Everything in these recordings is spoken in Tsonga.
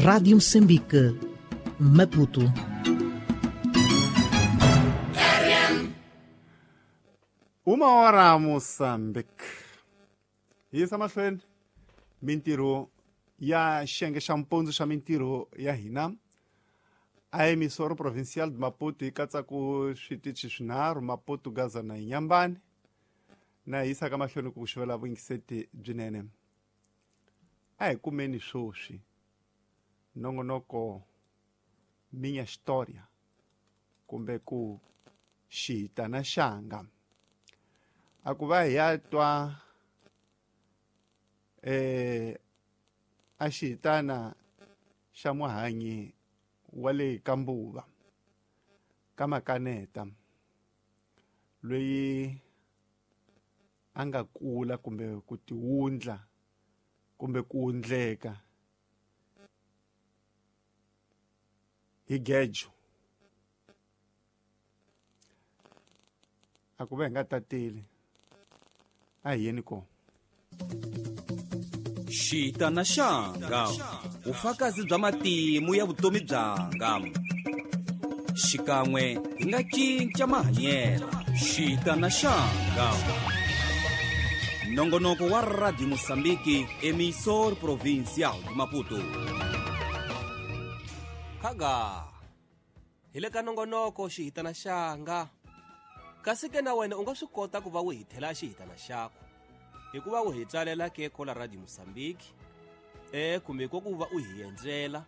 Rádio Moçambique, Maputo. Uma hora Moçambique. Yisa mahlweni mintirho ya xiyenge xa mpundzu xa mintirho ya hina a emissora provincial de Maputo yi katsa ku switichi swinharhu Maputo, Gaza na Inhambane na yisa ka mahlweni ku xivela vuyingiseti byinene. A hi kumeni swoswi nongonoko Minha História kumbe ku xihitana xanga a ku va hi ya twa a xihitana xa muhanyi wa le ka Mbuva ka Makaneta loyi a nga kula kumbe ku tiwundla kumbe ku wundleka hi gejo. A ku va hi nga tateli a hi yeni kona. Xitana xanga vufakazi bya matimu ya vutomi byanga xikan'we hi nga cinca mahanyelo. Xitana xanga nongonoko wa Radio Moçambique, emissor provincial de Maputo. Khaga hi le ka nongonoko xihitana xanga kasi ke na wena u nga swi kota ku va u hithela xihitana xakho hikuva u hi tsalela ke kola Radio Moçambique kumbe ko ku va u hi endzela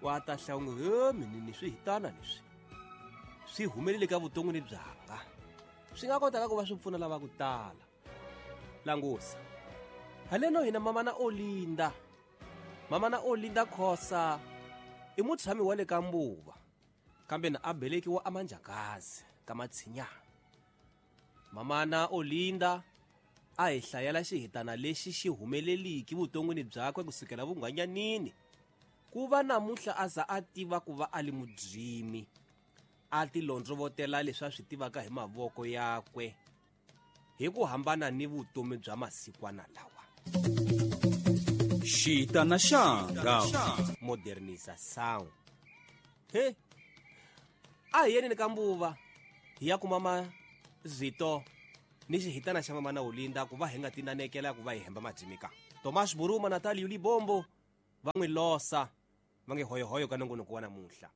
wa ta hlawunga he minini swihitana leswi swi humelele ka vuton'wini byanga swi nga kotaka ku va swi pfuna lava ku tala. Langusa haleno hina mamana Olinda, mamana Olinda Khosa i mutshami wa le ka Mbuva kambe na a belekiwa amanjakazi ka Matshinyana. Mamana Olinda a hi hlayela xihitana lexi xi humeleliki vuton'wini byakwe kusukela vunghwanyanini ku va namuntlha a za a tiva ku va a li mudzimi a tilondzovotela leswi a swi tivaka hi mavoko yakwe hi ku hambana ni vutomi bya masikwana lawa. Xitana xanga modernização. He a hi yeneni ka Mbuva hi ya kuma mazito ni xihitana xa mamana Olinda ku va hi nga tinanekela ku va hi hemba madzimika. Tomas Buruma na Natalia Libombo va n'wi losa va nge hoyohoyo ka nongonoko wa namuntlha.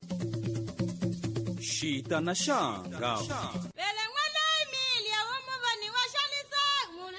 Xitana xanga.